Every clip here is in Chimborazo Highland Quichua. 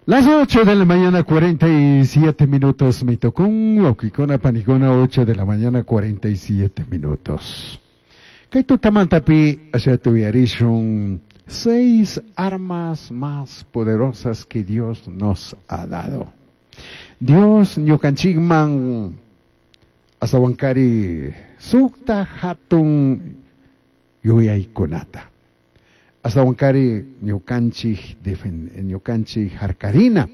Las 8 de la mañana 47 minutos me tocó huauquicuna panicuna 8 de la mañana 47 minutos. Kay tutamantapi ashata uyarishun seis armas más poderosas que Dios nos ha dado. Dios ñukanchikman astawankari sukta hatun yuyaykunata. Astawankari ñukanchik ñukanchik harkarina,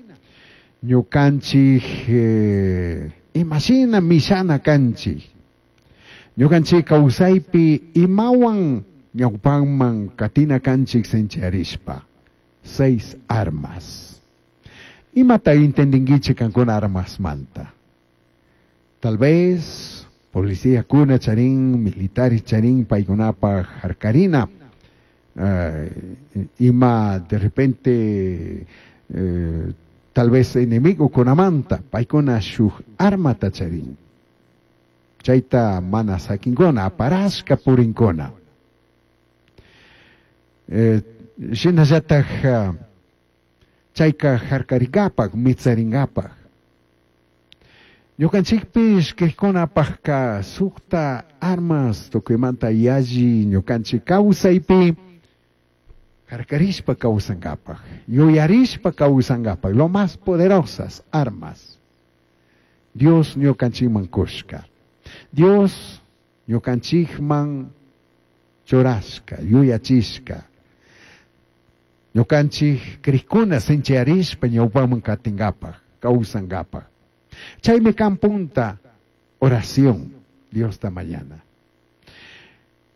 ñukanchik imashina mishana kanchik. Ñukanchik kawsaypi imawan ñawpanman katina kanchik sinchiyarishpa. Seis armas. Imata entendinkichik kankuna armasmanta. Tal vez policía kuna charin, militares charin, paykunapaj harkarina. Ima de repente tal vez enemigo kunamanta, paykuna shuk armata charin. Chayta mana sakinkuna, aparashka purinkuna. Shinallataj chayka harkarinkapak, mitsarinkapak. Ñukanchikpish kaykunapajka sukta armas tukuymanta yalli ñukanchik kawsaypi harkarishpa kawsankapak, yuyarishpa kawsankapak, lo más poderosas armas. Dios ñukanchikman kushka. Dios ñukanchikman churashka, yuyachishka. Ñukanchik krikuna sinchiyarishpa ñawpaman katinkapak, kawsankapak. Chaymi kan punta oración, Diosta mañana.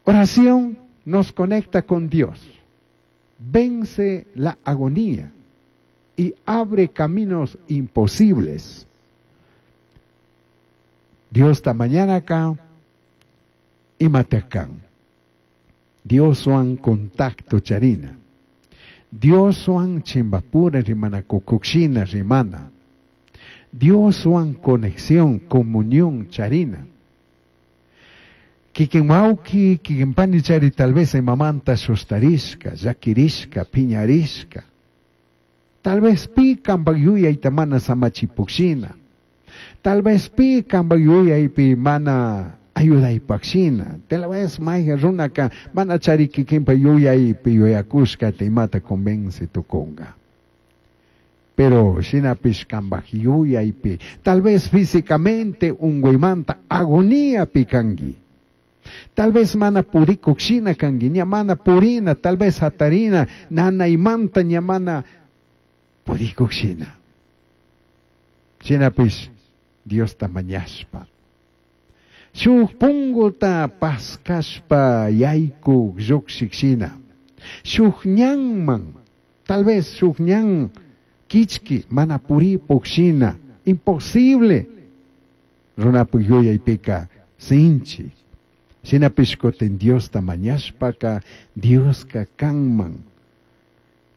Oración nos conecta con Dios, vence la agonía y abre caminos imposibles. Diosta mañana acá imatakan. Dioswan contacto charina. Dioswan chimbapura rimana kukukshina rimana. Dioswan conexión, comunión charina. Kikin wawki, kikin pani chari tal vez imamanta sustarishka, llakirishka, piñarishka. Tal vez pi kanpak yuyayta mana samachipukshina. Tal vez pi kanpak yuyaypi mana ayudaypakshina. Tal vez mayqa runaka mana chari kikinpa yuyaypi yuyakushkata imata convence tukunka. Pero shinapish kanpak yuyaypi, tal vez físicamente unguymanta agoniapi kanki. Tal vez mana purikuk shina kanki, ña mana purina, tal vez hatarina, nanaymanta ña mana purikuk shina. Shinapish Diosta mañashpa. Shuk punguta paskashpa yaykuk lluqshik shina. Shuk ñanman, tal vez shuk ñan kichki mana puripuk shina, imposible. Runapuk yuyaypika sinchi. Shinapish kutin Diosta mañashpaka Dioska kanman.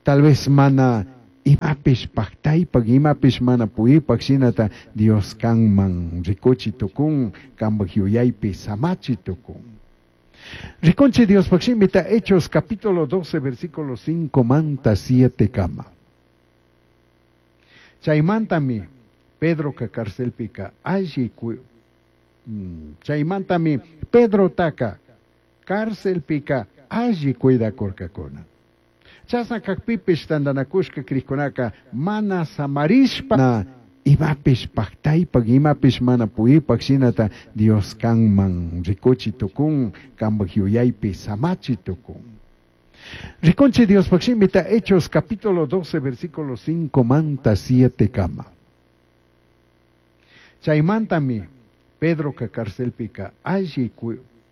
Tal vez mana imapish paktaypak, imapish mana puripak shinata Dios kanman rikuchi tukun, kanpak yuyaypi samachi tukun. Rikunchi Diospaj shimita Hechos capítulo 12 versículo 5 manta 7 kama. Chaymantami Pedroka carcelpika alli chaymantami Pedro taka carcelpika alli cuidakurkakuna. Chasna kakpipish tantanakushka krikkunaka mana samarishpa imapish paktaypak, imapish mana puripak shinata Dios kanman rikuchi tukun, kanpak yuyaypi samachi tukun. Rikunchi Diospaj shimita Hechos capítulo 12 versículo 5 manta 7 kama. Chaymantami Pedroka carcelpika alli